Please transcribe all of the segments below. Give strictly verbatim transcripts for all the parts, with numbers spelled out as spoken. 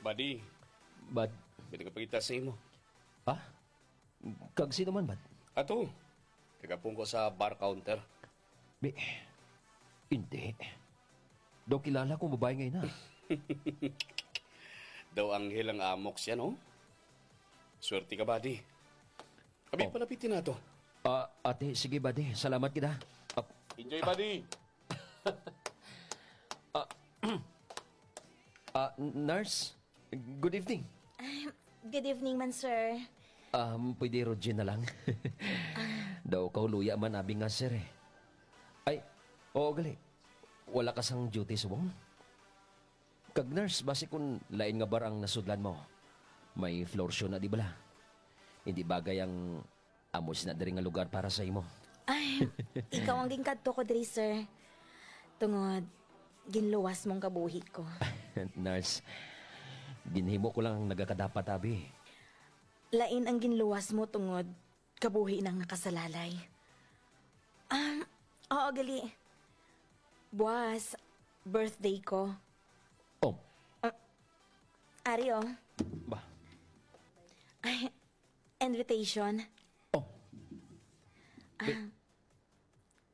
Buddy, Bad. May nagapangita sa imo. Ha? Kag sino man, bad? Ato, kagapon ko sa bar counter. Bi, hindi. Daw kilala kong babae ngayon, ha? Daw anghel ang amok siya, no? Swerte ka, buddy. Abi, Oh. Palapitin na to. Ah, ate, sige, buddy. Salamat kita. Ah, Enjoy, buddy. Ah, ah, nurse, good evening. Ay, good evening man, sir. Um, pwede Roger na lang. Daw kauluya man abi nga, sir, eh. Ay, oo, gali. Wala ka sang duty subong? Kag nurse, basi kun lain nga bar ang nasudlan mo, may floor show na, di bala? Hindi bagay ang amo sina diri nga lugar para sa imo. Ay, ikaw ang ginkadto ko diri, sir. Tungod, ginluwas mong kabuhi ko. Nurse, ginhimo ko lang ang nagakadapat, abi. Lain ang ginluwas mo tungod kabuhi nang nakasalalay. Um, oo, gali. Buwas, birthday ko. Oh. Ah, ari, oh. Ba? Ay, invitation. Oh. Ah,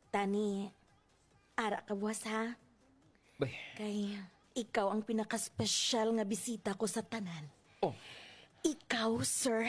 Tani, ara ka buwas, ha? Bay. Kay ikaw ang pinakaespesyal nga bisita ko sa tanan. Oh. Ikaw, sir.